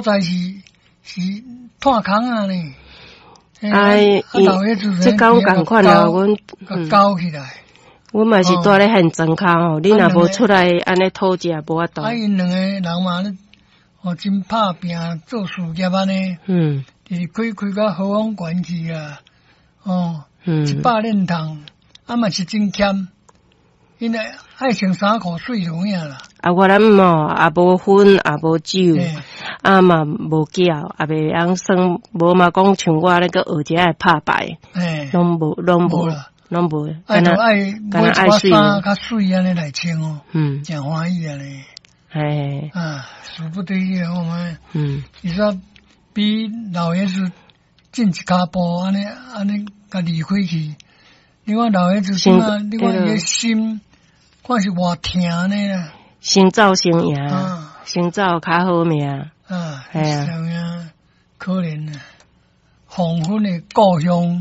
在是炭空仔呢。哎，這敢仝款啊，阮搞起來。阮嘛是蹛咧現場跤吼，你若無出來按呢討食，無法度。啊，𪜶兩個人嘛咧，哦，真拍拚做事業按呢。就是開開到和風縣去啊，哦，100鏈筒，啊嘛是真儉，𪜶愛穿衫褲媠有影啦。啊，我諗吼，也無薰，也無酒，啊嘛無筊，也袂曉耍，無嘛講像我咧閣學一下拍牌，攏無，攏無，攏無。愛就愛買一寡衫較媠按呢來穿哦，誠歡喜按呢。啊，事不得已我們，伊說比老爺子進一跤步，按呢按呢共離開去。你看老爺子這馬，你看伊的心，看是偌疼呢啦。先走先贏，先走較好命。啊，係啊，可憐啊，黃昏的故鄉。